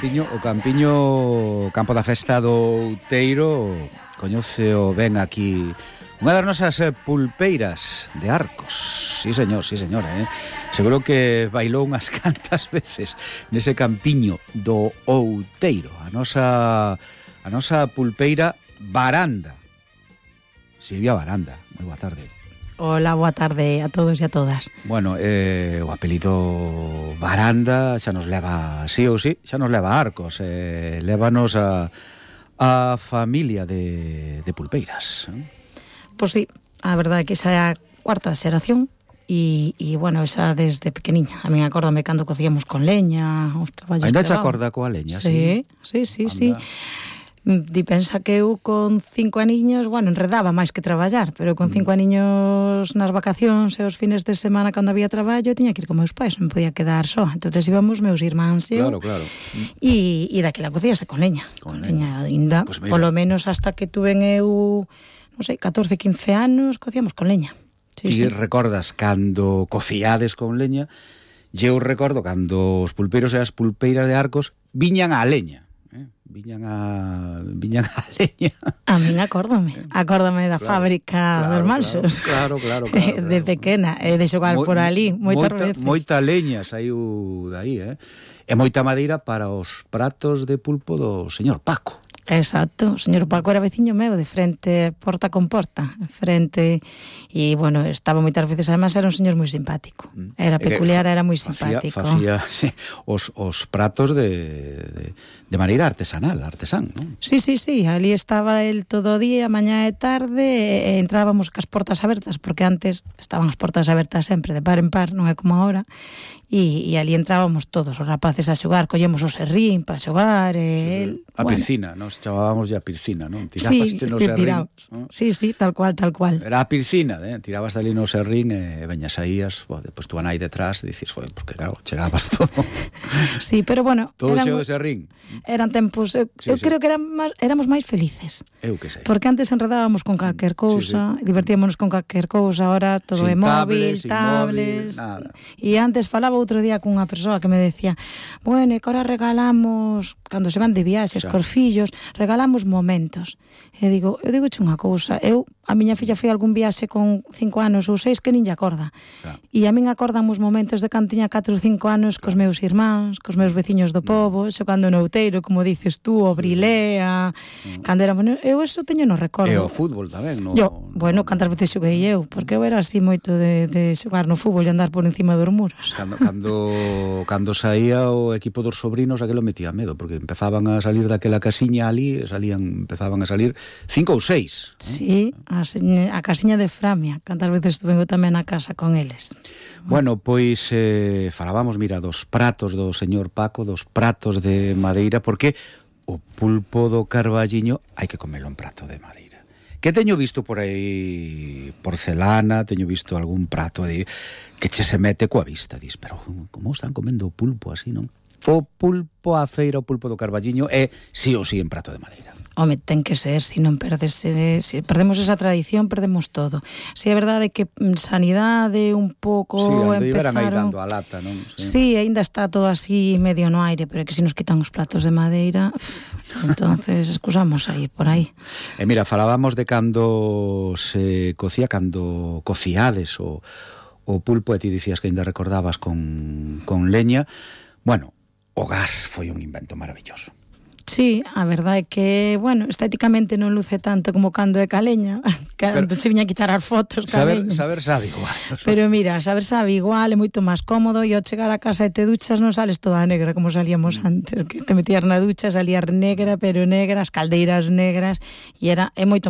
Campo da Festa do Outeiro, coñéceo ben aquí unha das nosas pulpeiras de Arcos. Sí, señor, Seguro que bailou unhas cantas veces nese campiño do Outeiro. A nosa pulpeira Baranda. Silvia Baranda, moi boa tarde. Hola, boa tarde a todos e a todas. Bueno, o apelido Baranda xa nos leva, sí ou sí, xa nos leva a Arcos. Lévanos a familia de pulpeiras. Pois sí, a verdade é que esa é a cuarta xeración e bueno, esa desde pequeniña. A min acórdame cando cocíamos con leña, os traballos. Ainda te acorda coa leña? Sí. Di pensa que eu con 5 aniños, bueno, enredaba máis que traballar, pero con 5 aniños nas vacacións e os fines de semana cando había traballo tiña que ir con meus pais, non podía quedar só. Entonces íbamos meus irmáns e eu. Claro. E daquela cocíase con leña. Con leña ainda, pues polo menos hasta que tuven eu, non sei, 14, 15 anos, cocíamos con leña. Ti recordas cando cociades con leña? Eu recordo cando os pulpeiros e as pulpeiras de Arcos viñan á leña. Viñan a leña. A min acórdame da fábrica dos Mansos. Claro. De pequena, de xogar por ali moitas veces. Moita leña saiu daí, E moita madeira para os pratos de pulpo do señor Paco. Exacto, o señor Paco era veciño meu, de frente, porta con porta, frente, e, bueno, estaba moitas veces, además era un señor moi simpático, era peculiar, era moi simpático. Facía sí, os pratos de maneira artesán, non? Sí, ali estaba el todo o día, mañá e tarde, e entrábamos cas portas abertas, porque antes estaban as portas abertas sempre, de par en par, non é como agora, e ali entrábamos todos os rapaces a xogar, collemos o serrín para xogar, e a piscina, nos chamábamos ya piscina, non? Tirabaste no serrín, ¿no? Sí, tal cual. Era a piscina, tirabas ali no serrín e veñas saías, depois tu anai detrás e dices, porque claro, chegabas todo. Sí, pero bueno, todo xeo de serrín. Eran tempos, eu creo que éramos máis felices. Eu que sei. Porque antes enredábamos con calquer cousa, divertíamonos con calquer cousa, ahora todo é móvil, tablets, nada. E antes falaba outro día cunha persoa que me decía, bueno, e que ahora regalamos, cando se van de viaxes cos fillos, regalamos momentos. E digo unha cousa, a miña filla foi algún viaxe con 5 anos ou 6 que nin lle acorda. E a min acordamos momentos de cando tiña 4 ou 5 anos cos meus irmáns, cos meus veciños do pobo, xogando no Outeiro, como dices tú, o Brilea, cando éramos, eu eso teño no recordo. E o fútbol tamén, no? Bueno, cantas veces xoguei eu, porque eu era así moito de xogar no fútbol e andar por encima dos muros. Cando saía o equipo dos sobrinos, aquilo metía medo, porque empezaban a salir daquela casiña ali, empezaban a salir 5 ou 6. Sí, a casiña de Framia, cantas veces estuve eu tamén na casa con eles. Bueno, pois falábamos, mira, dos pratos do señor Paco, dos pratos de madeira, porque o pulpo do Carballiño hai que comelo en prato de madeira. Que teño visto por aí porcelana, teño visto algún prato de que che se mete coa vista, dis, pero como están comendo o pulpo así, non? O pulpo a feira, o pulpo do Carballiño é sí ou sí en prato de madeira. Home, ten que ser, se perdemos esa tradición, perdemos todo. Si é verdade que sanidade un pouco empezaron aí dando a lata, non? Sí, aínda está todo así medio no aire, pero é que se nos quitan os platos de madeira, entonces excusamos a ir por aí. E mira, falábamos de cando se cocía, cando cociades o pulpo, e ti dicías que ainda recordabas con leña. Bueno, o gas foi un invento maravilloso. Sí, a verdade é que, bueno, estéticamente non luce tanto como cando é caleña, cando se viña a quitar as fotos caleña. Saber sabe igual. Pero mira, saber sabe igual, é moito máis cómodo, e ao chegar a casa e te duchas non sales toda negra como salíamos antes, que te metías na ducha, salías negra, pero negra, as caldeiras negras, e é moito máis